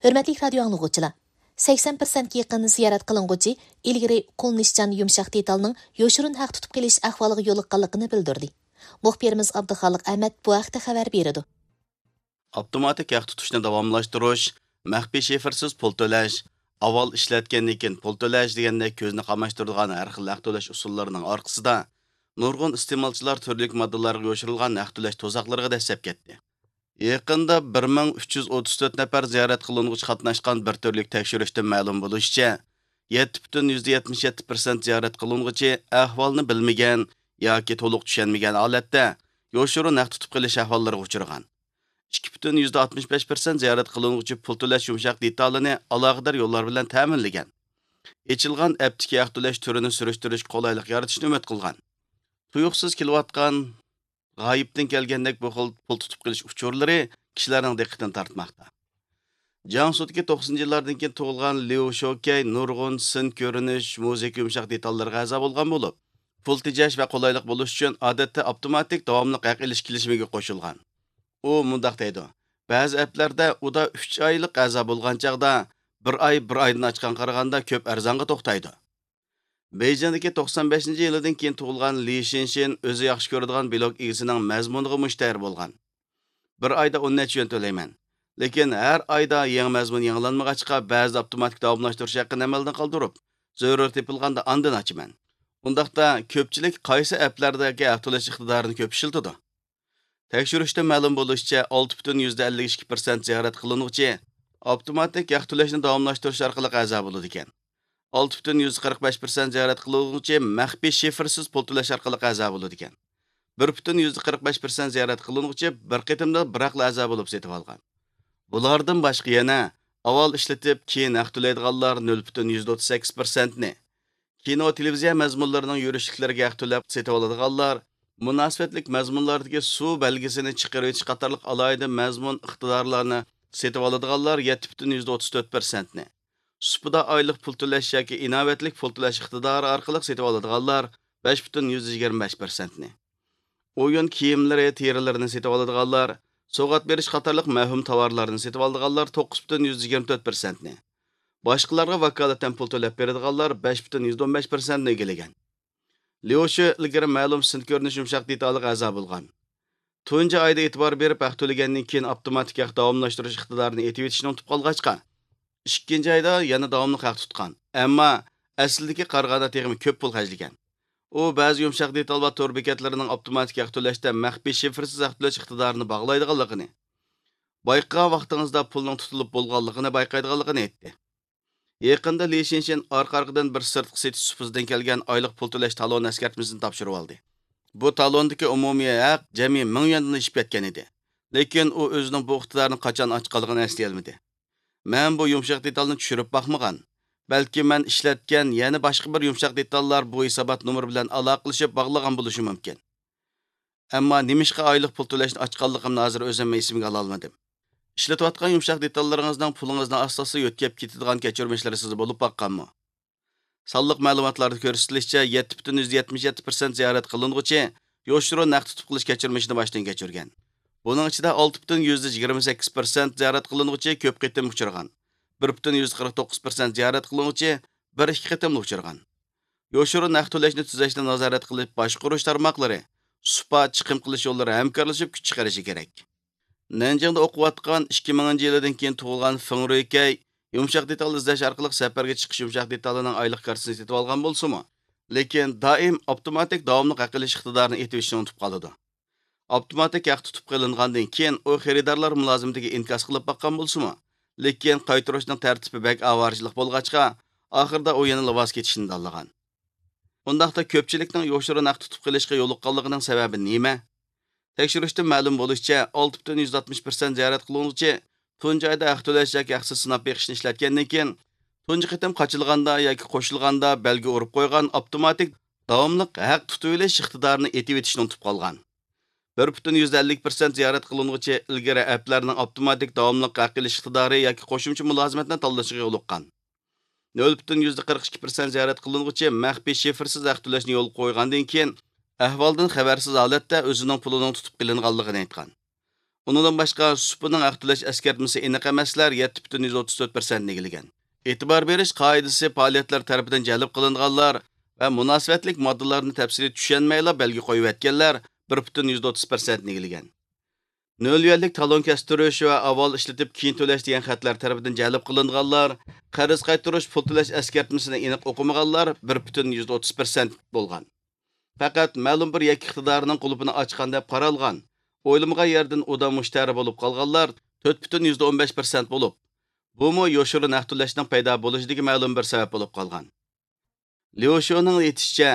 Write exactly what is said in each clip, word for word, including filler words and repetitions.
ھۆرمەتلىك رادىيو ئاڭلىغۇچىلار! سەكسەن پىرسەنتكە يېقىن زىيارەت قىلىنغۇچى ئىلگىرى قوللىنىشچان يۇمشاق دېتالنىڭ يوشۇرۇن ھەق تۇتۇپ قېلىش ئەھۋالىغا يولۇققانلىقىنى بىلدۈردى. مۇخبىرىمىز ئابدۇخالىق ئەمەت بۇ ھەقتە خەۋەر بېرىدۇ. ئاپتوماتىك ھەق تۇتۇشنى داۋاملاشتۇرۇش، مەخپىي شىفىرسىز پۇل تۆلەش، ئاۋۋال ئىشلەتكەندىن كېيىن پۇل تۆلەش دېگەندەك كۆزنى قاماشتۇرىدىغان ھەر خىل ھەق تۆلەش ئۇسۇللىرىنىڭ ئارقىسىدا، نۇرغۇن ئىستېمالچىلار تۈرلۈك ماددىلارغا يوشۇرۇلغان ھەق تۆلەش تۇزاقلىرىغا دەسسەپ كەتتى. يېقىندا بىر مىڭ ئۈچ يۈز ئوتتۇز تۆت نەپەر زىيارەت قىلىنغۇچى قاتناشقان بىر تۈرلۈك تەكشۈرۈشتىن مەلۇم بولۇشىچە، يەتتە پۈتۈن يۈزدە يەتمىش يەتتە پىرسەنت زىيارەت قىلىنغۇچى ئەھۋالنى بىلمىگەن ياكى تولۇق چۈشەنمىگەن ھالەتتە يوشۇرۇن ھەق تۇتۇپ قېلىش ئەھۋاللىرىغا ئۇچرىغان. ئىككى پۈتۈن يۈزدە ئاتمىش بەش پىرسەنت زىيارەت قىلىنغۇچى پۇل تۆلەش يۇمشاق دېتالىنى ئالاقىدار يوللار بىلەن تەمىنلىگەن. ئېچىلغان ئەپتىكى ھەق تۆلەش تۈرىنى سۈرۈشتۈرۈشكە قولايلىق يارىتىشنى ئۈمىد قىلغان. تۇيۇقسىز كېلىۋاتقان غايىبتىن كەلگەندەك بۇ خىل پۇل تۇتۇپ قېلىش ئۇچۇرلىرى كىشىلەرنىڭ دىققىتىنى تارتماقتا. جياڭسۇدىكى توقسىنىنچى يىللاردىن كېيىن تۇغۇلغان ليۇ شوكەي نۇرغۇن سىن كۆرۈنۈش، مۇزىكا يۇمشاق دېتاللىرىغا ئەزا بولغان بولۇپ، پۇل تېجەش ۋە قولايلىق بولۇش ئۈچۈن ئادەتتە ئاپتوماتىك داۋاملىق ھەق ئېلىش كېلىشىمىگە قوشۇلغان. ئۇ مۇنداق دەيدۇ: بەزى ئەپلەردە ئۇدا ئۈچ ئايلىق ئەزا بولغان چاغدا، بىر ئاي بىر ئايدىن ئاچقان قارىغاندا كۆپ ئەرزانغا توختايدۇ. بېيجىڭدىكى توقسان بەشىنچى يىلىدىن كېيىن تۇغۇلغان لى شىنشىن ئۆزى ياخشى كۆرىدىغان بىلوگ ئىگىسىنىڭ مەزمۇنىغا مۇشتەرى بولغان. بىر ئايدا ئون نەچچە يۈەن تۆلەيمەن. لېكىن ھەر ئايدا يېڭى مەزمۇن يېڭىلانمىغاچقا، بەزىدە ئاپتوماتىك داۋاملاشتۇرۇش ھەققىنى ئەمەلدىن قالدۇرۇپ، زۆرۈر تېپىلغاندا ئاندىن ئاچىمەن. ئۇنداقتا كۆپچىلىك قايسى ئەپلەردىكى ھەق تۆلەش ئىقتىدارىنى كۆپ ئىشلىتىدۇ؟ تەكشۈرۈشتىن مەلۇم بولۇشىچە، ئالتە پۈتۈن يۈزدە ئەللىك ئىككى پىرسەنت زىيارەت قىلىنغۇچى ئاپتوماتىك ھەق تۆلەشنى داۋاملاشتۇرۇش ئارقىلىق ئەزا بولىدىكەن. ئالتە پۈتۈن يۈزدە قىرىق بەش پىرسەنت زىيارەت قىلىنغۇچى مەخپىي شىفىرسىز پۇل تۆلەش ئارقىلىق ئەزا بولىدىكەن. بىر پۈتۈن يۈزدە قىرىق بەش پىرسەنت زىيارەت قىلىنغۇچى بىر قېتىمدا بىراقلا ئەزا بولۇپ سېتىۋالغان. بۇلاردىن باشقا يەنە ئاۋۋال ئىشلىتىپ، كېيىن ھەق تۆلەيدىغانلار نۆل پۈتۈن يۈزدە ئوتتۇز سەككىز پىرسەنتنى، كىنو، تېلېۋىزىيە مەزمۇنلىرىنىڭ يۈرۈشلۈكلىرىگە ھەق تۆلەپ سېتىۋالىدىغانلار، مۇناسىۋەتلىك مەزمۇنلاردىكى سۇ بەلگىسىنى چىقىرىۋېتىش قاتارلىق ئالاھىدە مەزمۇن ئىقتىدارلارنى سېتىۋالىدىغانلار يەتتە پۈتۈن يۈزدە ئوتتۇز تۆت پىرسەنتنى، سۇپىدا ئايلىق پۇل تۆلەش ياكى ئىناۋەتلىك پۇل تۆلەش ئىقتىدارى ئارقىلىق سېتىۋالىدىغانلار بەش پۈتۈن يۈزدە يىگىرمە بەش پىرسەنتنى، ئويۇن كىيىملىرى، تېرىلىرىنى سېتىۋالىدىغانلار، سوۋغات بېرىش قاتارلىق مەۋھۇم تاۋارلارنى سېتىۋالىدىغانلار توققۇز پۈتۈن يۈزدە يىگىرمە تۆت پىرسەنتنى، باشقىلارغا ۋاكالىتەن پۇل تۆلەپ بېرىدىغانلار بەش پۈتۈن يۈزدە ئون بەش پىرسەنتنى ئىگىلىگەن. ليۇ شى ئىلگىرى مەلۇم سىن كۆرۈنۈش يۇمشاق دېتالىغا ئەزا بولغان. تۇنجى ئايدا ئېتىبار بېرىپ ھەق تۆلىگەندىن كېيىن ئاپتوماتىك ھەق داۋاملاشتۇرۇش ئىقتىدارىنى ئېتىۋېتىشنى ئۇنتۇپ قالغاچقا، ئىككىنچى ئايدا يەنە داۋاملىق ھەق تۇتقان، ئەمما ئەسلىدىكى قارىغاندا تېخىمۇ كۆپ پۇل خەجلىگەن. ئۇ بەزى يۇمشاق دېتال ۋە تور بېكەتلىرىنىڭ ئاپتوماتىك ھەق تۆلەشتە مەخپىي شىفىرسىز ھەق تۆلەش ئىقتىدارىنى باغلايدىغانلىقىنى، بايقىغان ۋاقتىڭىزدا پۇلنىڭ تۇتۇلۇپ بولغانلىقىنى بايقايدىغانلىقىنى ئېيتتى. يېقىندا لى شىنشىن ئارقا-ئارقىدىن بىر سىرتقى سېتىش سۇپىسىدىن كەلگەن ئايلىق پۇل تۆلەش تالون ئەسكەرتمىسىنى تاپشۇرۇۋالدى. بۇ تالوندىكى ئومۇمىي ھەق جەمئىي مىڭ يۈەندىن ئېشىپ كەتكەن ئىدى. لېكىن ئۇ ئۆزىنىڭ بۇ ئىقتىدارىنى قاچان ئاچقانلىقىنى ئەسلىيەلمىدى. مەن بۇ يۇمشاق دېتالنى چۈشۈرۈپ باقمىغان. بەلكى مەن ئىشلەتكەن يەنە باشقا بىر يۇمشاق دېتاللار بۇ ھېسابات نومۇرى بىلەن ئالاقىلىشىپ باغلىغان بولۇشى مۇمكىن. ئەمما نېمىشقا ئايلىق پۇل تۆلەشنى ئاچقانلىقىمنى ھازىر ئۆزۈممۇ ئېسىمگە ئالالمىدىم. ئىشلىتىۋاتقان يۇمشاق دېتاللىرىڭىزنىڭ پۇلىڭىزنى ئاستا-ئاستا يۆتكەپ كېتىدىغان كەچۈرمىشلىرى سىزدە بولۇپ باققانمۇ؟ سانلىق مەلۇماتلاردا كۆرسىتىلىشىچە، يەتتە پۈتۈن يۈزدە يەتمىش يەتتە پىرسەنت زىيارەت قىلىنغۇچى يوشۇرۇن ھەق تۇتۇپ قېلىش كەچۈرمىشىنى باشتىن كەچۈرگەن. بۇنىڭ ئىچىدە ئالتە پۈتۈن يۈزدە يىگىرمە سەككىز پىرسەنت زىيارەت قىلىنغۇچى كۆپ قېتىم ئۇچرىغان. بىر پۈتۈن يۈزدە قىرىق توققۇز پىرسەنت زىيارەت قىلىنغۇچى بىر ئىككى قېتىملا ئۇچرىغان. يوشۇرۇن ھەق تۆلەشنى تۈزەشنى نازارەت قىلىپ باشقۇرۇش تارماقلىرى، سۇپا، چىقىم قىلىش يوللىرى ھەمكارلىشىپ كۈچ چىقىرىشى كېرەك. نەنجىڭدە ئوقۇۋاتقان ئىككى مىڭىنچى يىلىدىن كېيىن تۇغۇلغان فېڭ رۇيكەي يۇمشاق دېتال ئىزدەش ئارقىلىق سەپەرگە چىقىش يۇمشاق دېتالىنىڭ ئايلىق كارتىسىنى سېتىۋالغان بولسىمۇ، لېكىن دائىم ئاپتوماتىك داۋاملىق ھەق ئېلىش ئىقتىدارىنى ئېتىۋېتىشنى ئۇنتۇپ قالىدۇ. ئاپتوماتىك ھەق تۇتۇپ قېلىنغاندىن كېيىن ئۇ خېرىدارلار مۇلازىمىتىگە ئىنكاس قىلىپ باققان بولسىمۇ، لېكىن قايتۇرۇشنىڭ تەرتىپى بەك ئاۋارىچىلىق بولغاچقا، ئاخىرىدا ئۇ يەنىلا ۋاز كېچىشنى تاللىغان. ئۇنداقتا كۆپچىلىكنىڭ يوشۇرۇن ھەق تۇتۇپ قېلىشقا يولۇققانلىقىنىڭ سەۋەبى نېمە؟ تەكشۈرۈشتىن مەلۇم بولۇشىچە، ئالتە پۈتۈن يۈزدە ئاتمىش پىرسەنت زىيارەت قىلىنغۇچى تۇنجى ئايدا ھەق تۆلەش ياكى ھەقسىز سىناپ بېقىشنى ئىشلەتكەندىن كېيىن، تۇنجى قېتىم قاچىلىغاندا ياكى قوشۇلغاندا بەلگە ئۇرۇپ قويغان ئاپتوماتىك داۋاملىق ھەق تۇتۇۋېلىش ئىقتىدارىنى ئېتىۋېتىشنى ئۇنتۇپ قالغان. بىر پۈتۈن يۈزدە ئەللىك پىرسەنت زىيارەت قىلىنغۇچى ئىلگىرى ئەپلەرنىڭ ئاپتوماتىك داۋاملىق ھەق ئېلىش ئىقتىدارى ياكى قوشۇمچە مۇلازىمەتنى تاللىشىغا يولۇققان. نۆل پۈتۈن يۈزدە قىرىق ئىككى پىرسەنت زىيارەت قىلىنغۇچى مەخپىي شىفىرسىز ھەق تۆلەشنى يولغا قويغاندىن كېيىن، ئەھۋالدىن خەۋەرسىز ھالەتتە ئۆزىنىڭ پۇلىنىڭ تۇتۇپ قېلىنغانلىقىنى ئېيتقان. ئۇنىڭدىن باشقا، سۇپىنىڭ ھەق تۆلەش ئەسكەرتمىسى ئېنىق ئەمەسلەر يەتتە پۈتۈن يۈزدە ئوتتۇز تۆت پىرسەنتنى ئىگىلىگەن. ئېتىبار بېرىش قائىدىسى پائالىيەتلەر تەرىپىدىن جەلپ قىلىنغانلار ۋە مۇناسىۋەتلىك ماددىلارنى تەپسىلىي چۈشەنمەيلا بەلگە قويۇۋەتكەنلەر بىر پۈتۈن يۈزدە ئوتتۇز پىرسەنتنى ئىگىلىگەن. نۆل يۈەنلىك تالون كەستۈرۈش ۋە ئاۋۋال ئىشلىتىپ، كېيىن تۆلەش دېگەن خەتلەر تەرىپىدىن جەلپ قىلىنغانلار، قەرز قايتۇرۇش، پۇل تۆلەش ئەسكەرتمىسىنى ئېنىق ئوقۇمىغانلار بىر پۈتۈن يۈزدە ئوتتۇز پىرسەنت بولغان. پەقەت مەلۇم بىر يەككە ئىقتىدارنىڭ قۇلۇپىنى ئاچقان دەپ قارالغان، ئويلىمىغان يەردىن ئۇدا مۇشتەرى بولۇپ قالغانلار تۆت پۈتۈن يۈزدە ئون بەش پىرسەنت بولۇپ، بۇمۇ يوشۇرۇن ھەق تۆلەشنىڭ پەيدا بولۇشىدىكى مەلۇم بىر سەۋەب بولۇپ قالغان. ليۇ شۇنىڭ ئېيتىشىچە،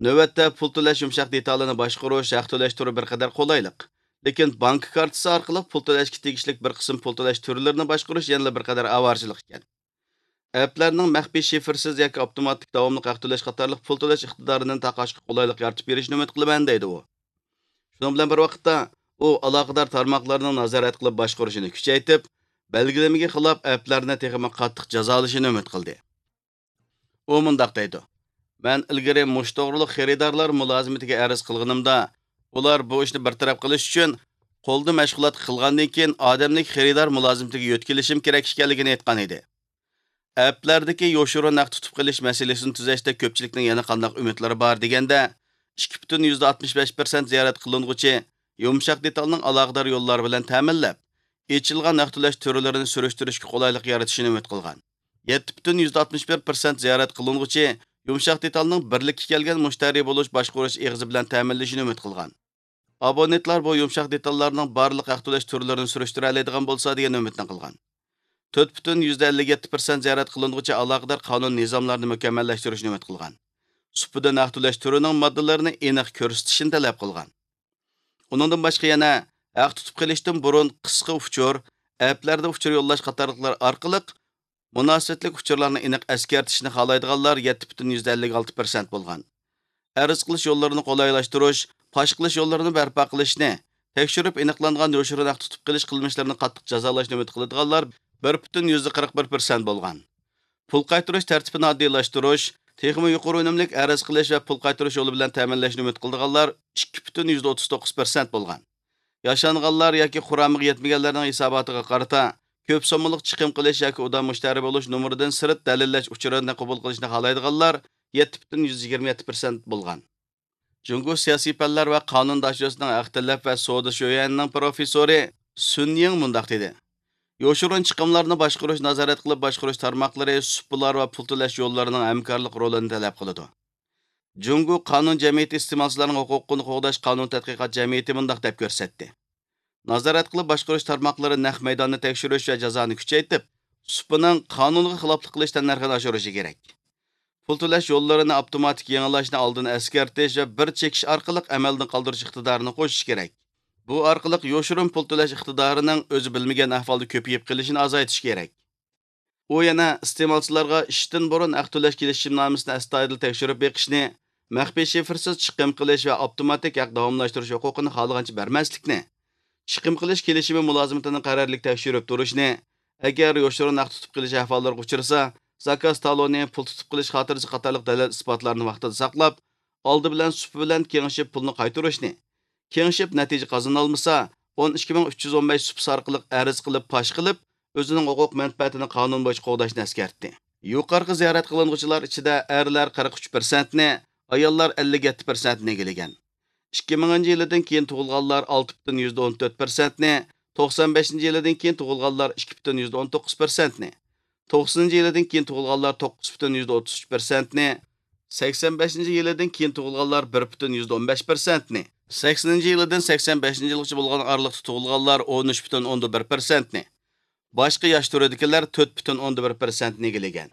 نۆۋەتتە پۇل تۆلەش يۇمشاق دېتالىنى باشقۇرۇش، ھەق تۆلەش تۈرى بىر قەدەر قولايلىق. لېكىن بانكا كارتىسى ئارقىلىق پۇل تۆلەشكە تېگىشلىك بىر قىسىم پۇل تۆلەش تۈرلىرىنى باشقۇرۇش يەنىلا بىر قەدەر ئاۋارىچىلىق ئىكەن. ئەپلەرنىڭ مەخپىي شىفىرسىز ياكى ئاپتوماتىك داۋاملىق ھەق تۆلەش قاتارلىق پۇل تۆلەش ئىقتىدارىنى تاقاشقا قولايلىق يارىتىپ بېرىشىنى ئۈمىد قىلىمەن، دەيدۇ ئۇ. شۇنىڭ بىلەن بىر ۋاقىتتا، ئۇ ئالاقىدار تارماقلارنىڭ نازارەت قىلىپ باشقۇرۇشىنى كۈچەيتىپ، بەلگىلىمىگە خىلاپ ئەپلەرنى تېخىمۇ قاتتىق جازالىشىنى ئۈمىد قىلدى. ئۇ مۇنداق دەيدۇ: مەن ئىلگىرى مۇشۇ توغرۇلۇق خېرىدارلار مۇلازىمىتىگە ئەرز قىلغىنىمدا، ئۇلار بۇ ئىشنى بىر تەرەپ قىلىش ئۈچۈن قولدا مەشغۇلات قىلغاندىن كېيىن ئادەملىك خېرىدار مۇلازىمىتىگە يۆتكىلىشىم كېرەك ئىكەنلىكىنى ئېيتقان ئىدى. ئەپلەردىكى يوشۇرۇن ھەق تۇتۇپ قېلىش مەسىلىسىنى تۈزەشتە كۆپچىلىكنىڭ يەنە قانداق ئۈمىدلىرى بار دېگەندە، ئىككى پۈتۈن يۈزدە ئاتمىش بەش پىرسەنت زىيارەت قىلىنغۇچى يۇمشاق دېتالنىڭ ئالاقىدار يوللار بىلەن تەمىنلەپ، ئېچىلغان ھەق تۆلەش تۈرلىرىنى سۈرۈشتۈرۈشكە قولايلىق يارىتىشىنى ئۈمىد قىلغان. يەتتە پۈتۈن يۈزدە ئاتمىش بىر پىرسەنت زىيارەت قىلىنغۇچى يۇمشاق دېتالنىڭ بىرلىككە كەلگەن مۇشتەرى بولۇش باشقۇرۇش ئېغىزى بىلەن تەمىنلىشىنى ئۈمىد قىلغان. ئابونېنتلار بۇ يۇمشاق دېتاللارنىڭ بارلىق ھەق تۆلەش تۈرلىرىنى سۈرۈشتۈرەلەيدىغان بولسا دېگەن ئۈمىدنى قىلغان. تۆت پۈتۈن يۈزدە ئەللىك يەتتە پىرسەنت زىيارەت قىلىنغۇچى ئالاقىدار قانۇن نىزاملارنى مۇكەممەللەشتۈرۈشنى ئۈمىد قىلغان. سۇپىدىن ھەق تۆلەش تۈرىنىڭ ماددىلىرىنى ئېنىق كۆرسىتىشىنى تەلەپ قىلغان. ئۇنىڭدىن باشقا يەنە ھەق تۇتۇپ قېلىشتىن بۇرۇن قىسقا ئۇچۇر، ئەپلەردە ئۇچۇر يوللاش قاتارلىقلار ئارقىلىق مۇناسىۋەتلىك ئۇچۇرلارنى ئېنىق ئەسكەرتىشنى خالايدىغانلار يەتتە پۈتۈن يۈزدە ئەللىك ئالتە پىرسەنت بولغان. ئەرز قىلىش يوللىرىنى قولايلاشتۇرۇش، پاش قىلىش يوللىرىنى بەرپا قىلىشنى، تەكشۈرۈپ ئېنىقلانغان يوشۇرۇن ھەق تۇتۇپ قېلىش قىلمىشلىرىنى قاتتىق جازالاشنى ئۈمىد قىلىدىغانلار بىر پۈتۈن يۈزدە قىرىق بىر پىرسەنت بولغان. پۇل قايتۇرۇش تەرتىپىنى ئاددىيلاشتۇرۇش، تېخىمۇ يۇقىرى ئۈنۈملۈك ئەرز قىلىش ۋە پۇل قايتۇرۇش يولى بىلەن تەمىنلەشنى ئۈمىد قىلىدىغانلار ئىككى پۈتۈن يۈزدە ئوتتۇز توققۇز پىرسەنت بولغان. ياشانغانلار ياكى قۇرامىغا يەتمىگەنلەرنىڭ ھېساباتىغا قارىتا، كۆپ سوممىلىق چىقىم قىلىش ياكى ئۇدا مۇشتەرى بولۇش نومۇرىدىن سىرت دەلىللەش ئۇچۇرىنى قوبۇل قىلىشنى خالايدىغانلار يەتتە پۈتۈن يۈزدە يىگىرمە يەتتە پىرسەنت بولغان. جۇڭگو سىياسىي پەنلەر ۋە قانۇن داشۆسىنىڭ ھەق تەلەپ ۋە سودا شۆيۈەنىنىڭ پروفېسسورى سۈن يىڭ مۇنداق دېدى: يوشۇرۇن چىقىملارنى باشقۇرۇش، نازارەت قىلىپ باشقۇرۇش تارماقلىرى سۇپىلار ۋە پۇل تۆلەش يوللىرىنىڭ ھەمكارلىق رولىنى تەلەپ قىلىدۇ. جۇڭگو قانۇن جەمئىيىتى ئىستېمالچىلارنىڭ ھوقۇقىنى قوغداش قانۇن تەتقىقات جەمئىيىتى مۇنداق دەپ كۆرسەتتى: نازارەت قىلىپ باشقۇرۇش تارماقلىرى نەق مەيداننى تەكشۈرۈش ۋە جازانى كۈچەيتىپ، سۇپىنىڭ قانۇنغا خىلاپلىق قىلىش تەننەرخىنى ئاشۇرۇشى كېرەك. پۇل تۆلەش يوللىرىنى ئاپتوماتىك يېڭىلاشنى ئالدىن ئەسكەرتىش ۋە بىر چېكىش ئارقىلىق ئەمەلدىن قالدۇرۇش ئىقتىدارىنى قوشۇش كېرەك. بۇ ئارقىلىق يوشۇرۇن پۇل تۆلەش ئىقتىدارىنىڭ ئۆزى بىلمىگەن ئەھۋالدا كۆپىيىپ قېلىشىنى ئازايتىش كېرەك. ئۇ يەنە ئىستېمالچىلارغا ئىشتىن بۇرۇن ھەق تۆلەش كېلىشىمنامىسىنى ئەستايىدىل تەكشۈرۈپ بېقىشنى، مەخپىي شىفىرسىز چىقىم قىلىش ۋە ئاپتوماتىك ھەق داۋاملاشتۇرۇش ھوقۇقىنى خالىغانچە بەرمەسلىكنى، چىقىم قىلىش كېلىشىمى مۇلازىمىتىنى قەرەللىك تەكشۈرۈپ تۇرۇشنى، ئەگەر يوشۇرۇن ھەق تۇتۇپ قېلىش ئەھۋاللىرىغا ئۇچرىسا، زاكاز تالونى، پۇل تۇتۇپ قېلىش خاتىرىسى قاتارلىق دەلىل ئىسپاتلارنى ۋاقتىدا ساقلاپ، ئالدى بىلەن سۇپا بىلەن كېڭىشىپ پۇلنى قايتۇرۇشنى، كېڭىشىپ نەتىجە قازىنالمىسا، ئون ئىككى مىڭ ئۈچ يۈز ئون بەش سۇپىسى ئارقىلىق ئەرز قىلىپ پاش قىلىپ، ئۆزىنىڭ ھوقۇق مەنپەئەتىنى قانۇن بويىچە قوغداشنى ئەسكەرتتى. يۇقىرىقى زىيارەت قىلىنغۇچىلار ئىچىدە ئەرلەر قىرىق ئۈچ پىرسەنتنى، ئاياللار ئەللىك يەتتە پىرسەنتنى ئىگىلىگەن. ئىككى مىڭىنچى يىلىدىن كېيىن تۇغۇلغانلار ئالتە پۈتۈن يۈزدە ئون تۆت پىرسەنتنى، توقسان بەشىنچى يىلىدىن كېيىن تۇغۇلغانلار ئىككى پۈتۈن يۈزدە ئون توققۇز پىرسەنتنى، توقسىنىنچى يىلىدىن كېيىن تۇغۇلغانلار توققۇز پۈتۈن يۈزدە ئوتتۇز ئۈچ پىرسەنتنى، سەكسەن بەشىنچى يىلىدىن كېيىن تۇغۇلغانلار بىر پۈتۈن يۈزدە ئون بەش پىرسەنتنى، سەكسىنىنچى يىلىدىن سەكسەن بەشىنچى يىلغىچە بولغان ئارىلىقتا تۇغۇلغانلار ئون ئۈچ پۈتۈن ئوندىن بىر پىرسەنتنى، باشقا ياش تۈرىدىكىلەر تۆت پۈتۈن ئوندىن بىر پىرسەنتنى ئىگىلىگەن.